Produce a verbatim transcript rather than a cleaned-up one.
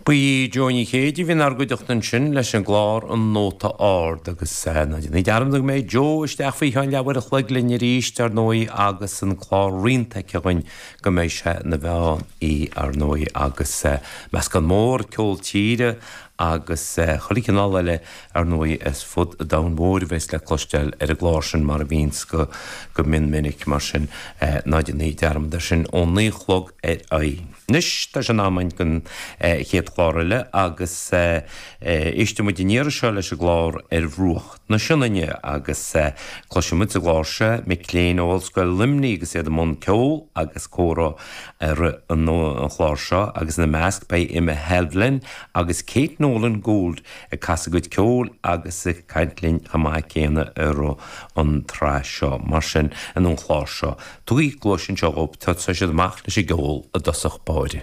Ba í Jó Ní Chéide a bhí inár gcuideachta ansin leis an gclár An Nóta Ard agus ná déanaí dearmad go mbeidh Jó isteach faoi cheann leathuair a chloig linn arís ar ndóigh agus an clár Rianta aici againn go mbeidh sé ina mheán oíche ar ndóigh agus meascán mór ceol tíre agus chuile chineál eile ar ndóigh as fud an domhain mhóir a bheas le cloisteáil ar an gclár sin mar a bhíonns go go mion minic mar sin ná déanaí dearmad air sin ón naoi a chlog ar aghaidh. Anois tá sé in am againn don chéad chlár eile agus éistfidh muid an iarraidh seo leis an gclár Ar Bhruach na Sionainne agus cloisfidh muid sa gclár seo mic léinn ó Ollscoil Luimnigh agus iad i mbun ceoil agus comhrá ar an chlár seo agus ina measc beidh Emma Halvlin agus Kate Nolan Gould ag casadh a gcuid ceoil agus ag caint linn chomh maith céanna ar an tsraith seo. Mar sin, in an chlár seo, tugaigí cluais anseo dhóibh, tosóidh siad amach leis an gceol i dtosach báire.